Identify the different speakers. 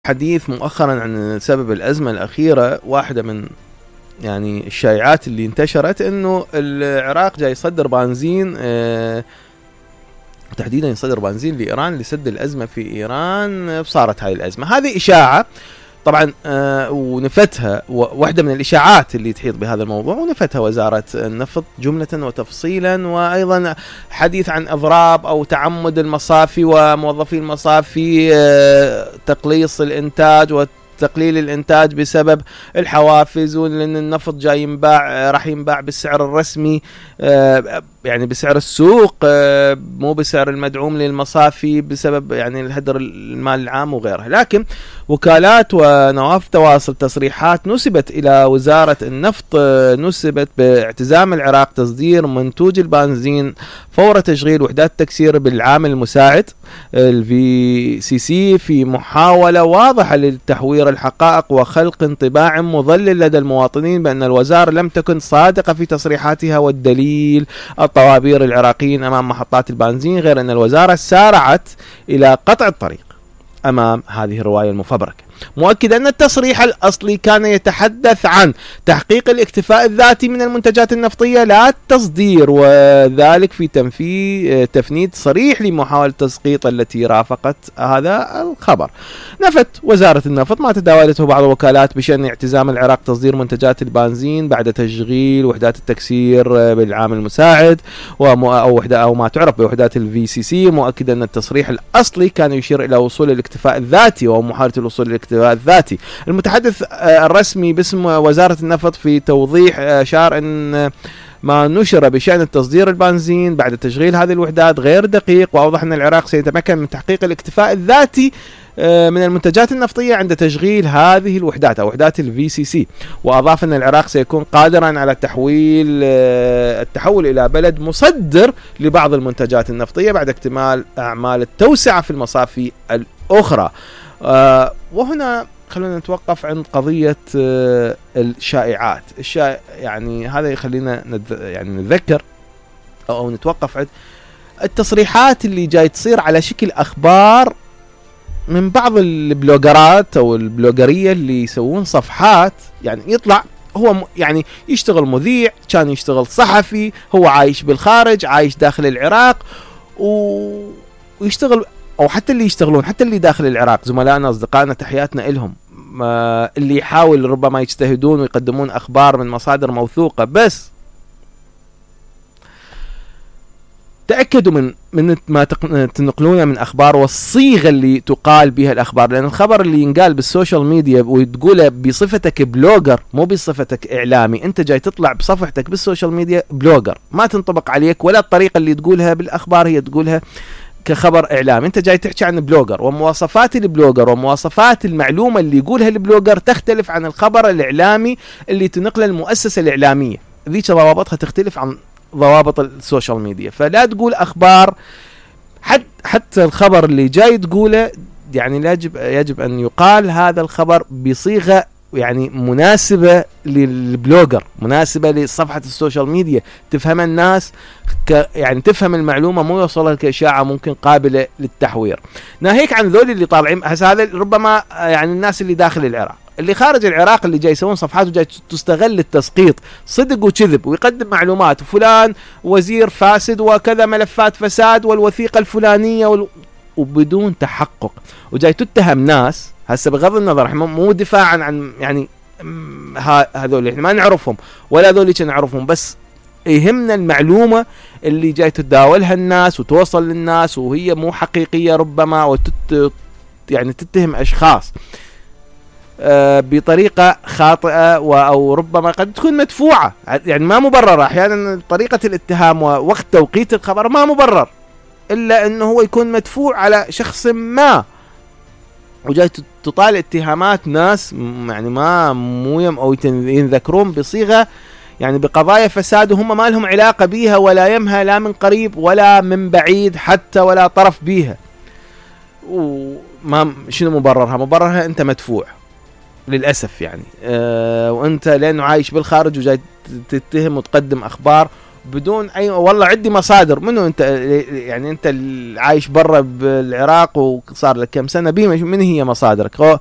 Speaker 1: حديث مؤخرا عن سبب الأزمة الأخيرة. واحدة من يعني الشائعات اللي انتشرت انه العراق جاي يصدر بنزين، تحديدا يصدر بنزين لإيران لسد الأزمة في إيران. صارت هاي الأزمة، هذه إشاعة طبعا ونفتها واحدة من الإشاعات اللي تحيط بهذا الموضوع، ونفتها وزارة النفط جملة وتفصيلا، وأيضا حديث عن إضراب أو تعمد المصافي وموظفي المصافي تقليص الإنتاج وتقليل الإنتاج بسبب الحوافز، وأن النفط جاي ينباع راح ينباع بالسعر الرسمي، يعني بسعر السوق مو بسعر المدعوم للمصافي بسبب يعني الهدر المال العام وغيرها. لكن وكالات ونواف تواصل تصريحات نسبت إلى وزارة النفط نسبت باعتزام العراق تصدير منتوج البنزين فور تشغيل وحدات التكسير بالعامل المساعد الVCC في محاولة واضحة لتحوير الحقائق وخلق انطباع مضلل لدى المواطنين بأن الوزارة لم تكن صادقة في تصريحاتها، والدليل الطوابير العراقيين أمام محطات البنزين، غير أن الوزارة سارعت إلى قطع الطريق أمام هذه الرواية المفبركة، مؤكد أن التصريح الأصلي كان يتحدث عن تحقيق الاكتفاء الذاتي من المنتجات النفطية لا التصدير، وذلك في تفنيد صريح لمحاولة تسقيط التي رافقت هذا الخبر. نفت وزارة النفط ما تداولته بعض الوكالات بشأن اعتزام العراق تصدير منتجات البنزين بعد تشغيل وحدات التكسير بالعامل المساعد أو ما تعرف بوحدات الVCC، مؤكد أن التصريح الأصلي كان يشير إلى وصول الاكتفاء الذاتي ومحاولة الوصول للاكتفاء الذاتي. المتحدث الرسمي باسم وزارة النفط في توضيح أشار أن ما نشر بشأن التصدير البنزين بعد تشغيل هذه الوحدات غير دقيق، وأوضح أن العراق سيتمكن من تحقيق الاكتفاء الذاتي من المنتجات النفطية عند تشغيل هذه الوحدات أو وحدات الVCC، وأضاف أن العراق سيكون قادرا على التحول إلى بلد مصدر لبعض المنتجات النفطية بعد اكتمال أعمال التوسعة في المصافي الأخرى. وهنا خلونا نتوقف عند قضية الشائعات. يعني هذا يخلينا نتذكر أو نتوقف عند التصريحات اللي جاي تصير على شكل أخبار من بعض البلوجرات أو البلوجرية اللي يسوون صفحات، يعني يطلع هو يعني يشتغل مذيع، كان يشتغل صحفي، هو عايش بالخارج، عايش داخل العراق، ويشتغل، أو حتى اللي يشتغلون حتى اللي داخل العراق زملائنا أصدقائنا تحياتنا إلهم، اللي يحاول ربما يجتهدون ويقدمون أخبار من مصادر موثوقة، بس تأكدوا من ما تنقلونه من أخبار والصيغة اللي تقال بها الأخبار، لأن الخبر اللي ينقال بالسوشيال ميديا وتقوله بصفتك بلوجر مو بصفتك إعلامي، أنت جاي تطلع بصفحتك بالسوشيال ميديا بلوجر، ما تنطبق عليك ولا الطريقة اللي تقولها بالأخبار هي تقولها كخبر إعلامي. أنت جاي تحكي عن بلوجر، ومواصفات البلوجر ومواصفات المعلومة اللي يقولها البلوجر تختلف عن الخبر الإعلامي اللي تنقله المؤسسة الإعلامية، ذيك ضوابطها تختلف عن ضوابط السوشيال ميديا. فلا تقول أخبار حتى الخبر اللي جاي تقوله يعني يجب أن يقال هذا الخبر بصيغة يعني مناسبة للبلوجر، مناسبة لصفحة السوشيال ميديا، تفهم الناس يعني تفهم المعلومة، مو يوصلها كإشاعة ممكن قابلة للتحوير. ناهيك عن ذول اللي طالعين هذا ربما يعني الناس اللي داخل العراق، اللي خارج العراق اللي جاي يسوون صفحات وجاي تستغل التسقيط صدق وكذب، ويقدم معلومات فلان وزير فاسد وكذا ملفات فساد والوثيقة الفلانية وبدون تحقق، وجاي تتهم ناس هسه بغض النظر مو دفاعا عن يعني هذول احنا ما نعرفهم ولا هذول نعرفهم، بس يهمنا المعلومة اللي جاي تتداولها الناس وتوصل للناس وهي مو حقيقية ربما، يعني تتهم أشخاص بطريقة خاطئة أو ربما قد تكون مدفوعة، يعني ما مبررة. أحيانا طريقة الاتهام ووقت توقيت الخبر ما مبرر، إلا أنه هو يكون مدفوع على شخص ما، وجاي تطالع اتهامات ناس يعني أو ينذكرون بصيغة يعني بقضايا فساد وهم ما لهم علاقة بيها ولا يمها لا من قريب ولا من بعيد حتى ولا طرف بيها. وما شنو مبررها؟ مبررها أنت مدفوع للأسف يعني، وأنت لأنه عايش بالخارج وجاي تتهم وتقدم أخبار بدون أي والله عندي مصادر. منو أنت يعني؟ أنت عايش برا بالعراق وصار لك كم سنة من هي مصادرك؟